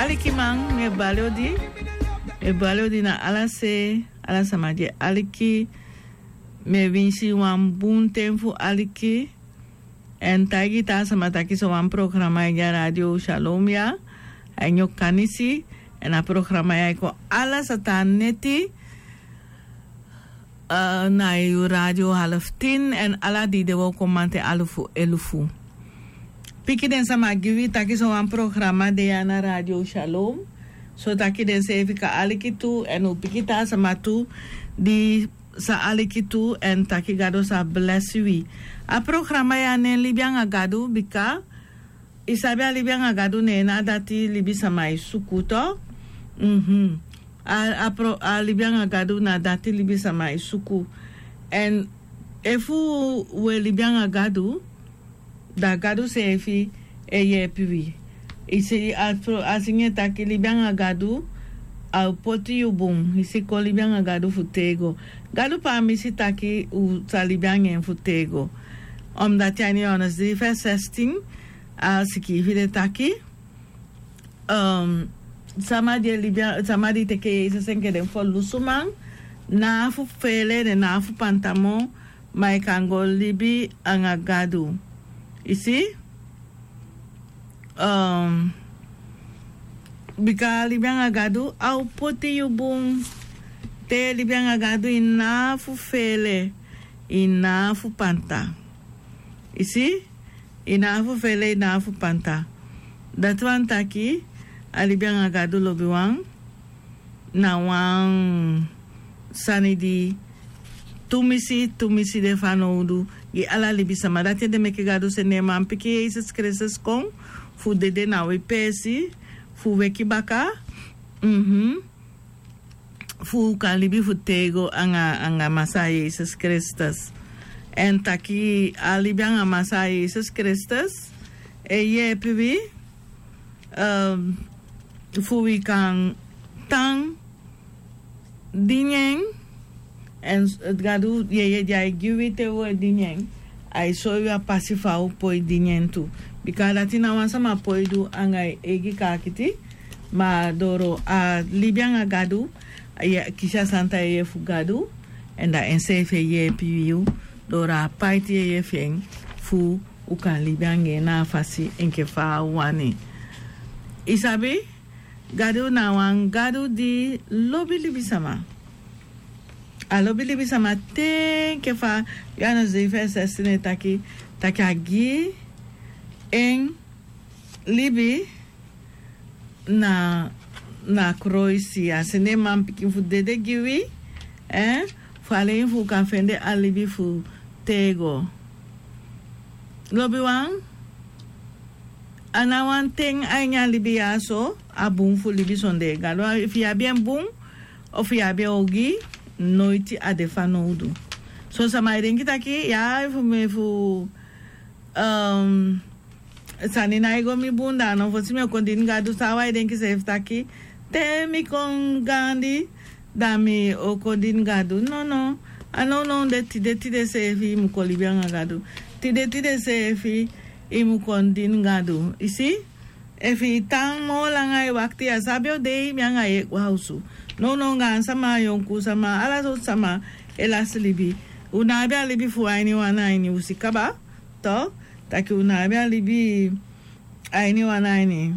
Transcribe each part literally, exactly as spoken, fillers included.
Alikiman, mi e bali odi. Mi e bali odi na ala se, ala sama di e aliki. Mi e winsi wan bun ten fu aliki. Èn taigi taa sama taki sowan programa e gi a Radio Shalom ya, a ini Okanisi. Èn a programa ya e kon ala sata neti, eh, na yu radio half tin, èn ala di de wi o kon mamanten alufu elufu. Piki den sama gi wi taki sowan programa de ya na Radio Shalom. So taki den seefi kan aliki tu, èn u piki taa sama tu di sa aliki tu, èn taki Gado sa blesi wi. A programa ya nen libi anga Gado, bika i sabi a libi anga Gado nen na dati libisama e suku tu. Mhm. A, a pro, a libi anga Gado na dati libisama e suku. Èn efu wi e libi anga Gado, da Gado seefi e yeepi wi. I si a pro, a singi e taki libi anga Gado, a o poti yu bun. I si, kon libi anga Gado fu tego. Gado pamisi taki u sa libi anga en fu tego. Omdati a ini Yohanes dri vers zestien, a sikiifi de taki, ehm, sama di e libi a, sama di teke Yesus enke den ferlusuman, ná fu feele, den ná fu panta moo, ma i kan go libi anga Gado. I si? Ehm, bika libi anga Gado, a o poti yu bun. Te libi anga Gado, i ná fu feele, i ná fu panta. I si? I ná fu feele, i ná fu panta. Dati wani taki, a libi anga Gado, lobiwan, na wan sani di tumisi, tumisi de fanowdu gi ala libisama. Dati ede meke Gado seni en manpikin Yesus Kristus kon fu dede na wi peesi, fu weki baka. Mhm. Fu u kan libi fu tego anga, anga Masaa Yesus Kristus. Èn taki a libi anga Masaa Yesus Kristus e yeepi wi, ehm, fu wi kan tan dini en, èn s-, Gado yeye di ai gi wi te wi e dini en, ai soi wi a pasi fa u poi dini en tu. Bika dati ná wan sama poi du anga en eigi kaakiti, ma doro a libi anga Gado, a e kisi a santa yeye fu Gado, èn da enseefi e yeepi yu doro a paiti yeye fi en fu u kan libi anga en na a fasi enke fa a wani. I sabi, Gado na wan Gado di lobi libisama. A lobi libisama te enke fa Yohanes dri vers zestien e taki, taki a gi en libi na, na kroisi, a seni en manpikin fu dede gi wi, eh, fu alen fu u kan fende a libi fu tego. Lobiwan, a ná wan ten a ini a libi ya so a bun fu libi sondee Gado. Efu yu abi en bun, efu yu abi en ogii, noiti a de fanowdu. Son sama e denki taki, ya, efu mi, efu, ehm, sani nái go mi bun, da a no fosi mi o kon dini Gado. San wan e denki seefi taki, te mi kon gaandi, da mi o kon dini Gado. Nono, a nownow de, tide tide seefi i mu kon libi anga Gado. Tide tide seefi i mu kon dini Gado. I si? Efu i tan moo langa e wakiti, ya sabi o dei mi anga yu e go a osu. Nownow gaandi sama, yonku sama, ala sortu sama e lasi libi. U ná abi a libi fu a ini wan na ini u si kaba, toch? Taki u ná abi a libi a ini wan na ini.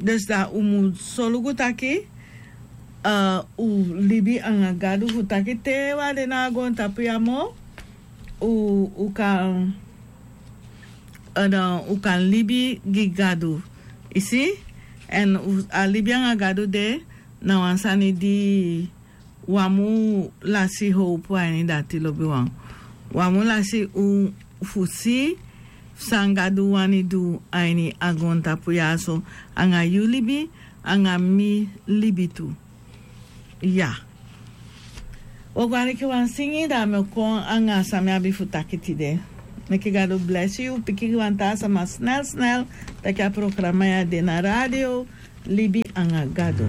Dus da u mu solugu taki, eh, u libi anga Gado fu taki te u á de na a goontapu ya moo, u, u kan, eh, da u kan libi gi Gado. I si? Èn u, a libi anga Gado de na wan sani di u á mu lasi howpu a ini dati, lobiwan. U á mu lasi u fu si san Gado wani du a ini a goontapu ya so, anga yu libi, anga mi libi tu. Ya. U o go aliki wan singi, da mi o kon anga san mi abi fu taki tide. Meke Gado blesi yu, piki wan taa sama snel snel, taki a programa ya de na radio, Libi anga Gado.